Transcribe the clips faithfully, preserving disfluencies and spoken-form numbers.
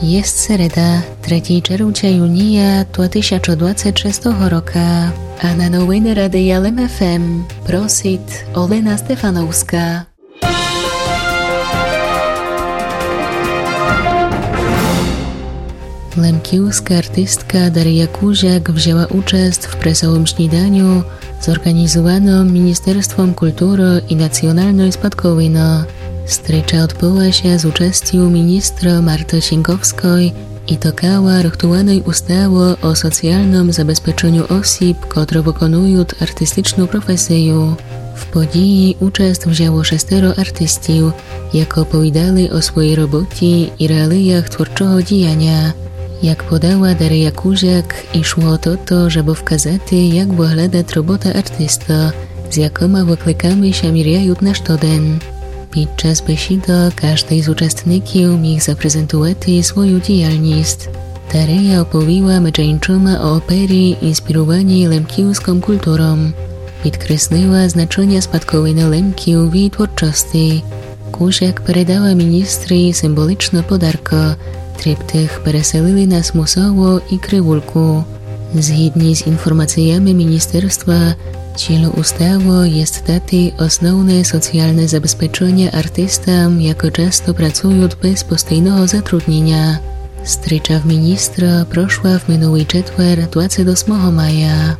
Єст середа, третій червця юния, два тисячы двадцет шестого рока. А на новины Радия Лем ФМ просит Олена Стефановска. Лемківска артистка Дария Кузяк взяла участ в пресовым сніданю, зорґанізуваным Міністерством культуры і націоналной спадковины. Стріча одбыла ся з участю міністра Марты Сіньковской і токала рыхтуваной уставы о соціалным забезпеченю осіб, котры выконуют артистичну професію. В подіі участ взяло шестеро артистів, як оповідали о своїй роботі і реаліях творчого діяня. Як подала Дария Кузяк, ішло о тото, жебы вказати, як выглядат робота артиста, з якыма выкликами ся міряют на штоден. Під час бесідок каждый з участників міг запрезентувати свою діяльніст. Дария оповіла медже іншыма о опері, інспіруваній лемківскым культуром. Підкреслила значеня спадковины Лемків в її творчости. Кузяк передала міністрі символичны подаркы. Триптих переселили на Смусово і Кривульку. Згідні з інформациями міністерства, ціль уставы єст дати основне соціалне забезпеченя артистам, якы часто працуют без постійного затрудніня. Стріча в міністра прошла в минулий четвер, двадцет осмого мая.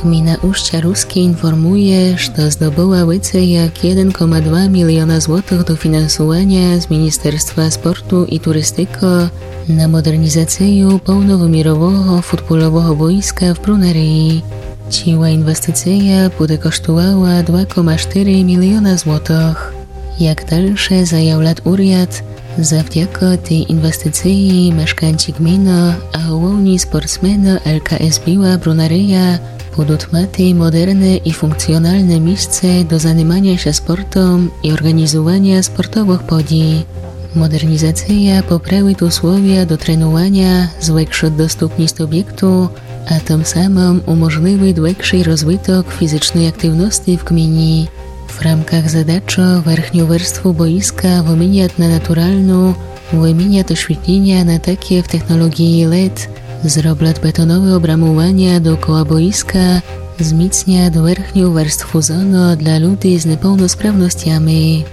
Gmina Uszcza Ruskie informuje, што здобыла веце як єден кома два міліона злотых дофінансуваня з Міністерства спорту і турыстикы на модернізацию повновымірового футболового боїска в Брунерії. Ціла інвестиция буде коштувала два кома штыри міліона злотых. Як дальше заявлят уряд, завдяка тій інвестициі мешканці гмины, а головні спортсмены ЛКС Біла Брунерия будут мати модерне і функціоналне місце до заниманя ся спортом і орґанізуваня спортовых подій. Модернізация поправит условия до тренуваня, звекшит доступніст обєкту, а тым самым уможливит векший розвиток фізичной активности в гмині. В рамках задачы верхню верству боїска вымінят на натуралну, вымінят освітліня на таке в технолоґії лед, зроблят бетонове обрамуваня докола боїска, зміцнят верхню верству зону для людей з неповносправностями.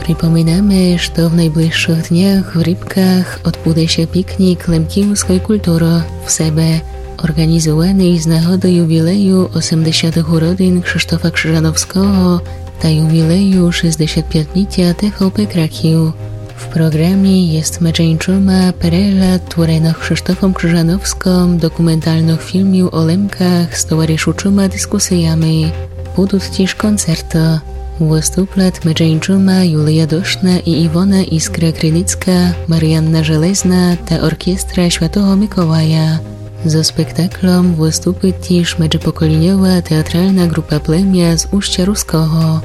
Припоминаме, што в найближшых днях в Рібках одбуде ся пікнік лемківской культуры в себе, орґанізуваный з нагоды ювілею осемдесятых уродин Кшыштофа Кржановского та ювілею шестдесят пятнітя ТВП Краків. В програмі єст медже іншыма перегляд творенных Кшыштофом Кржановскым документалных філмів о Лемках з товаришучыма дискусиями. Будут тіж концерты. Выступлят медже іншыма Юлия Дошна і Івона Іскра Криницка, Маріанна Железна та оркестра Святого Миколая. Зо спектаклом выступит тіж меджепоколіньова театрална ґрупа Племя з Устя Руского.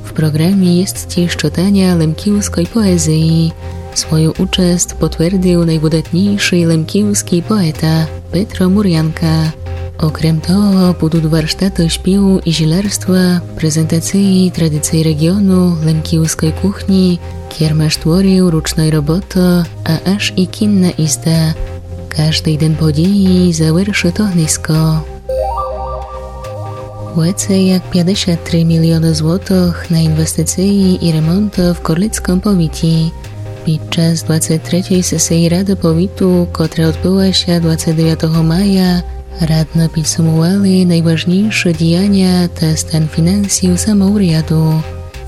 В програмі єст тіж чытаня лемківской поезиі. Свою участ потвердил найвыдатнійший лемківскій поета Петро Мурянка. Окрем того, будут варштаты шпіву і зілярства, презентациі традиций реґіону, лемківской кухні, кермаш творів ручной роботы, а аж і кінна ізда. Каждый ден подіі завершит огниско. Веце як пятдесят три міліоны злотых на інвестициі і ремонт в Корлицком повіті. Під час двадцет третьой сесиі Рады повіту, котра одбыла ся двадцет девятого мая, радны підсумували найважнійші діяня та стан фінансів самоуряду.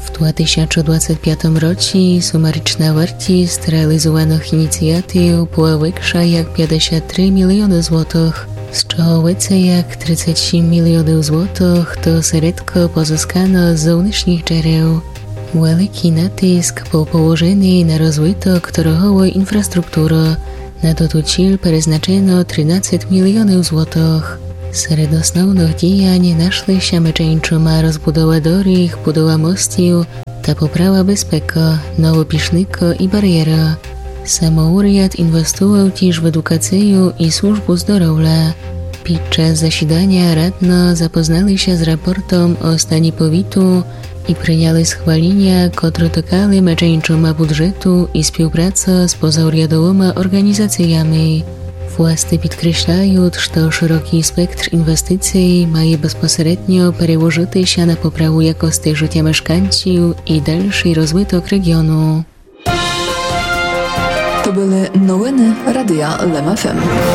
В два тисячы двадцет пятым році сумарічна вартіст реалізуваных ініціатив была векша як пятдесят три міліоны злотых, з чого веце як тридцет сім міліонів злотых то середко позыскано з зовнішніх джерел. Великій натиск быв положеный на розвиток дороговой інфраструктуры. На тоту ціль призначено тринадцет міліонів злотых. Серед основных діянь нашли ся медже іншыма розбудова доріг, будова мостів та поправа безпекы, новы пішникы і барєры. Самоуряд інвестував тіж в едукацию і службу здоровля. Під час засіданя радно запознали ся з рапортом о стані повіту і прийняли схваліня, котры токали меджи иншыма буджету і співпраца з позаурядовыма орґанізациями. Власти підкреслят, што шырокі спектр інвестиций має безпосередньо переложыти ся на поправу якости жытя мешканців і дальшый розвиток реґіону. То были новины Радия Лем ФМ.